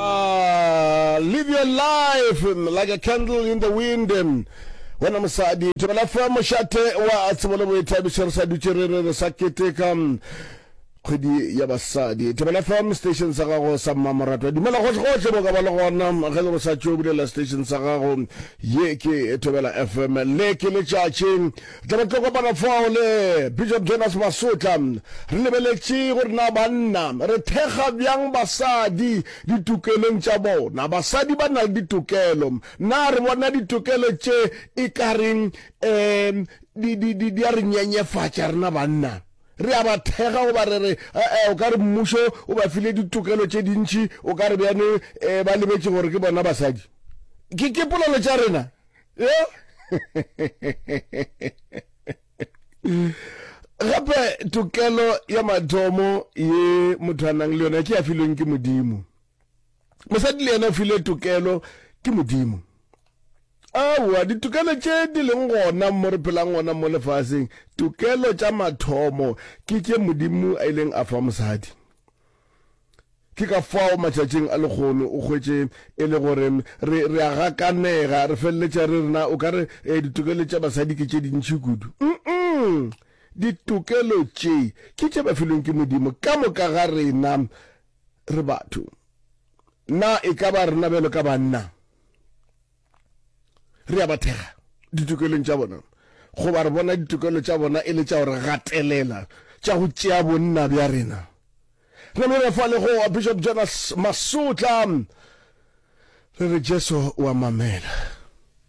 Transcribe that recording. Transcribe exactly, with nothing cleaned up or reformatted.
Ah, live your life like a candle in the wind. Wena mosadi, Thobela F M mošate wa tsebo le boithabišo, re sa dutše re re re sa keteka kgwedi ya basadi. Thobela F M station sa gago sa mmamoratwa. Dumela gohle gohle mo ka ba le gona ge le go sa tšo bulela station sa gago. Ye ke Thobela F M, le ke letšatši. Tla ba tlo kopana fao le Bishop Jonas Masotla. Re lebeletše gore na banna re thekga bjang basadi ditokelong tša bona. Basadi ba na le ditokelo. Na re bona ditokelo tše e ka reng, um, di, di, di, di a re nyenyefatša rena banna? Re a ba thekga goba re re, eh, o ka re mmušo o ba file ditokelo tše dintši, o ka re bjane, eh, ba lebetše gore ke bona basadi. Ke, ke polelo tša rena. Yeah? Gape tokelo ya mathomo ye motho a nang le yona ke ya filweng ke Modimo. Mosadi le yena o filwe tokelo ke Modimo. Aowa, ditokelo tše di leng gona mo re phelang gona mo lefaseng, tokelo tša mathomo ke tše Modimo a ileng a fa mosadi. Ke ka fao matšatšing a lekgono o hwetše e le gore re, re a gakanega, re feleletša re rena o ka re, eh, ditokelo tša basadi ke tše dintši kudu. Mm-mm. Ditokelo tše ke tše ba filweng ke Modimo. Ka moka ga rena re batho. Na e ka ba rena bjalo ka banna re a ba thekga ditokelong tša bona, goba re bona ditokelo tša bona e le tša go re gatelela, tša go tšea bonna bja rena? Re namile fa le go Bishop Jonas Masotla, re re Jesu wa mamela.